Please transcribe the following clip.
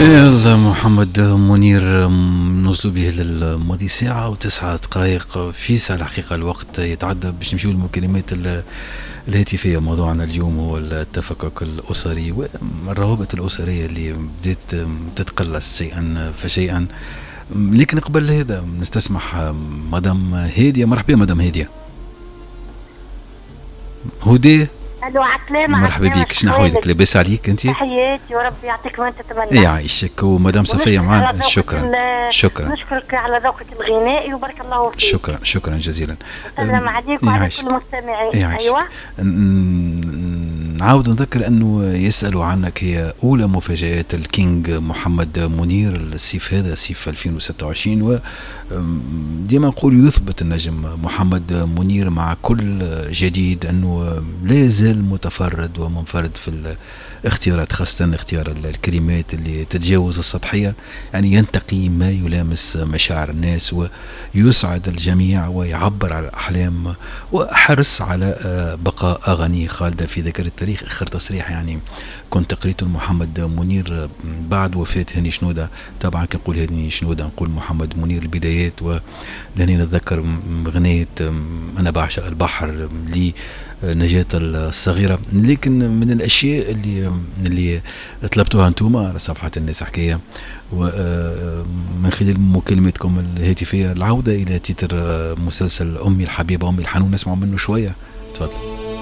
يلا محمد منير، نوصلوا به للماضي 1:09 في ساعة. الحقيقة الوقت يتعدى باش نمشيو للمكالمات الهاتفية. موضوعنا اليوم هو التفكك الأسري والروابط الأسرية اللي بدأت تتقلص شيئا فشيئا. لكن قبل هذا نستسمح مدام هادية. مرحبا مدام هادية. هدى. الو، عسلامة. مرحبا بك، شنو احوالك؟ لاباس عليك انت؟ تحياتي وربي يعطيك ما تتمنى. يعيشك. ومدام صفية معنا. شكرا شكرا. نشكرك على ذوقك الغنائي وبارك الله فيك. شكرا شكرا جزيلا. سلام عليك وعلى كل المستمعين. ايوه، نعاود نذكر انه يسالوا عنك هي اولى مفاجآت الكينج محمد منير الصيف هذا، صيف 2026. و ديما نقول يثبت النجم محمد منير مع كل جديد انه لا يزال متفرد ومنفرد في الاختيارات، خاصة اختيار الكلمات اللي تتجاوز السطحية، يعني ينتقي ما يلامس مشاعر الناس ويسعد الجميع ويعبر على الأحلام، وحرص على بقاء أغانيه خالدة في ذاكرة التاريخ. آخر تصريح يعني كنت قريته محمد منير بعد وفاة هاني شنودة. طبعا كنقول هاني شنودة نقول محمد منير البدايات، ولاني نتذكر أغنية أنا بعشق البحر لنجاة الصغيرة. لكن من الأشياء اللي طلبتوها أنتم على صفحة الناس حكاية ومن خلال مكالمتكم الهاتفية العودة إلى تتر مسلسل أمي الحبيبة أمي الحنون، نسمع منه شوية. تفضل.